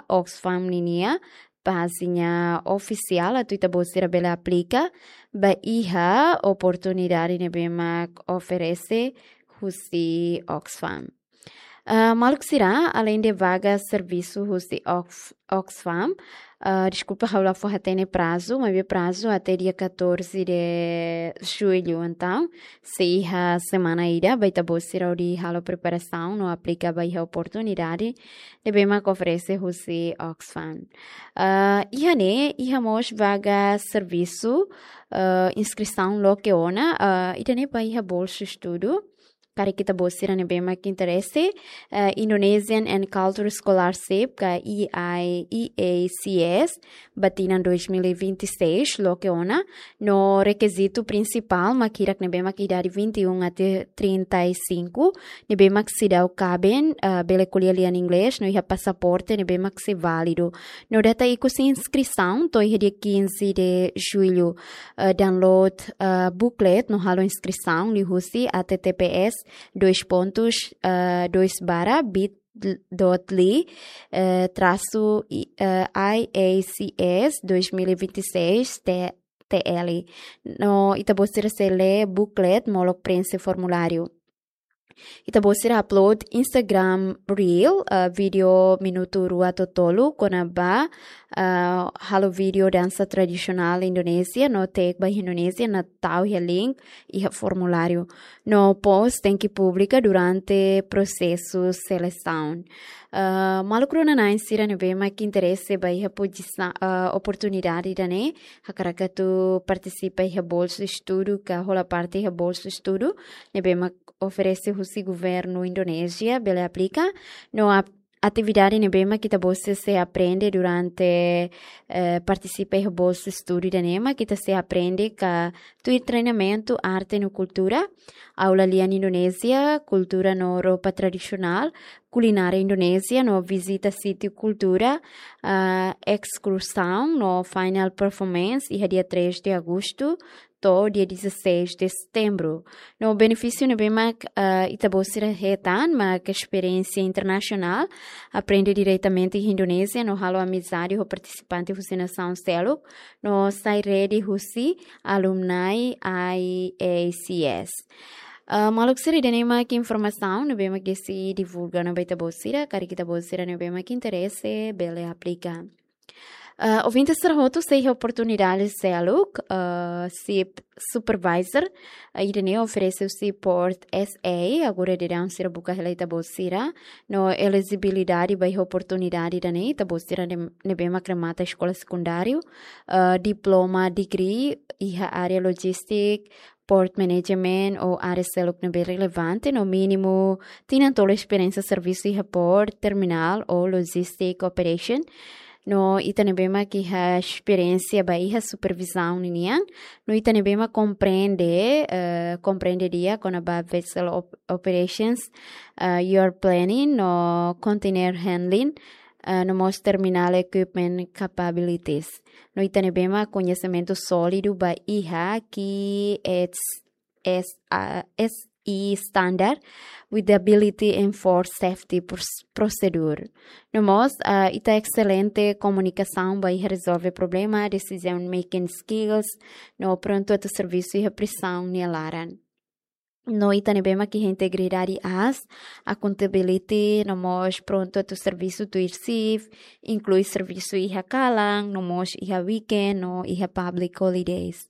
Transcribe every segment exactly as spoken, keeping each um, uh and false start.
Oxfam ninia pájina ofisiál atu ita-boot sira bele aplika ba iha oportunidade ne'ebé mak oferese husi Oxfam. Ah, maluk sira, além de vaga servisu husi Ox-, Oxfam, ah, deskulpa, ha'u la fó hatene prazu, maibé prazu até dia catorze de julho. Entaun, sei iha semana ida ba ita-boot sira hodi halo preparasaun no aplika ba iha oportunidade ne'ebé mak oferese husi Oxfam. Ah, iha ne'e, iha mós vaga servisu, ah, inskrisaun loke ona, ah, ida-ne'e ba iha bolsu estudu. Karik ita-boot sira ne'ebé mak interese, ah, Indonesian and Cultural Scholarship, ka E I, E A C S, ba tinan dois mil e vinte e seis, loke ona, no rekizitu prinsipál mak hirak ne'ebé mak idade vinte e um até trinta e cinco, ne'ebé mak seidauk kaben, ah, bele ko'alia lian inglés, no iha pasaporte ne'ebé mak sei válidu. No data ikus inskrisaun to'o iha dia quinze de julho, ah, download, ah, booklet no halo inskrisaun liuhusi H T T P S dois pontos, ah, dois barra bit dot L Y, eh, traço, i-, eh, I A C S dois mil e vinte e seis T-, T L. No ita-boot sira sei lee booklet molok preenxe formuláriu. Ita-boot sira upload Instagram Reel, eh, vídeo minutu rua to'o tolu, kona-ba, eh, halo vídeo dansa tradisionál Indonézia, no tag ba Indonézia, no tau iha link iha formuláriu. No post tenke publika durante prosesu selesaun. Ah, maluk rona-na'in sira ne'ebé mak interese ba iha pozisa-, ah, oportunidade ida-ne'e, hakarak atu partisipa iha bolsu estudu, ka hola parte iha bolsu estudu ne'ebé mak oferese husi governu Indonézia, bele aplika. No ap-, atividade ne'ebé mak ita-boot sira sei aprende durante, eh, partisipa iha bolsu estudu ida-ne'e mak ita sei aprende ka tuir treinamentu arte no kultura, aula lian Indonézia, kultura no roupa tradisionál, kulinária Indonézia, no vizita sítiu kultura, ah, ekskursaun no final performance iha dia três de agosto to'o dia dezasseis de setembro. No benefísiu ne'ebé mak, ah, ita-boot sira hetan mak esperiénsia internasionál, aprende diretamente iha Indonézia, no halo amizade ho partisipante husi nasaun seluk, no sai rede husi alumni I A C S. Ah, maluk sira, ida-ne'e mak informasaun ne'ebé mak Desi divulga ona ba ita-boot sira, karik ita-boot sira ne'ebé mak interese, bele aplika. Ah, ouvinte sira hotu, sei iha oportunidade seluk, ah, SIP Supervisor, ah, ida-ne'e oferese husi Port S A, agora daudaun sira buka hela ita-boot sira, no elejibilidade ba iha oportunidade ida-ne'e, ita-boot sira ne-, ne'ebé mak remata eskola sekundáriu, ah, diploma, degree, iha área logistik, port management ou área seluk ne'ebé relevante, no mínimu tinan tolu esperiénsia servisu iha port, terminál ou logistic operation. No ita ne'ebé mak iha esperiénsia ba iha supervizaun ninian, no ita ne'ebé mak komprende, eh, komprende di'ak kona-ba vessel op-, operations, eh, yard planning no container handling, eh, no mós terminal equipment capabilities. No ita ne'ebé mak koñesimentu sólidu ba iha key S-, S-, ah, S E standard with the ability enforce safety pros-, procedure. No mós, ah, ita excelente komunikasaun ba iha rezolve problema, decision making skills, no prontu atu servisu iha presaun nia laran. No ita ne'ebé mak iha integridade aas, accountability, no mós prontu atu servisu tuir SIP, inklui servisu iha kalan, no mós iha weekend, no iha public holidays.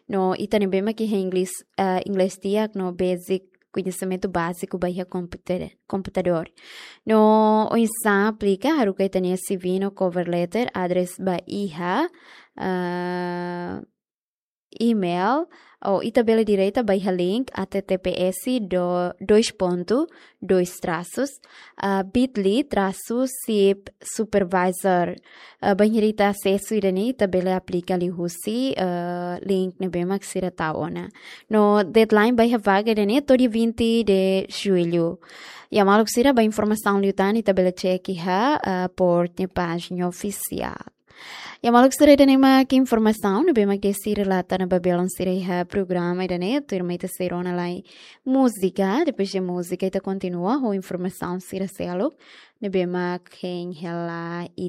No ita ne'ebé mak iha inglés, eh, inglés di'ak, no basic, koñesimentu báziku ba iha komputa-, komputadór. No oinsá aplika, haruka ita-nia C V no cover letter, address ba iha, eh, email, ou ita bele direta ba iha link H T T P S do-, dois ponto, dois traços, ah, bit.ly traço SIP Supervisor. Ah, bainhira ita asesu ida-ne'e, ita bele aplika liuhusi, ah, link ne'ebé mak sira tau ona. No deadline ba iha vaga ida-ne'e to'o dia vinte de julho. Ya maluk sira, ba informasaun liután ita bele cek iha, ah, Port nia pájina ofisiál. Ya maluk sira, ida-ne'e mak informasaun ne'ebé mak Desi relata ona ba belun sira iha programa ida-ne'e, tuirmai ita sei rona lai múzika, depois de múzika ita kontinua ho informasaun sira seluk ne'ebé mak hein hela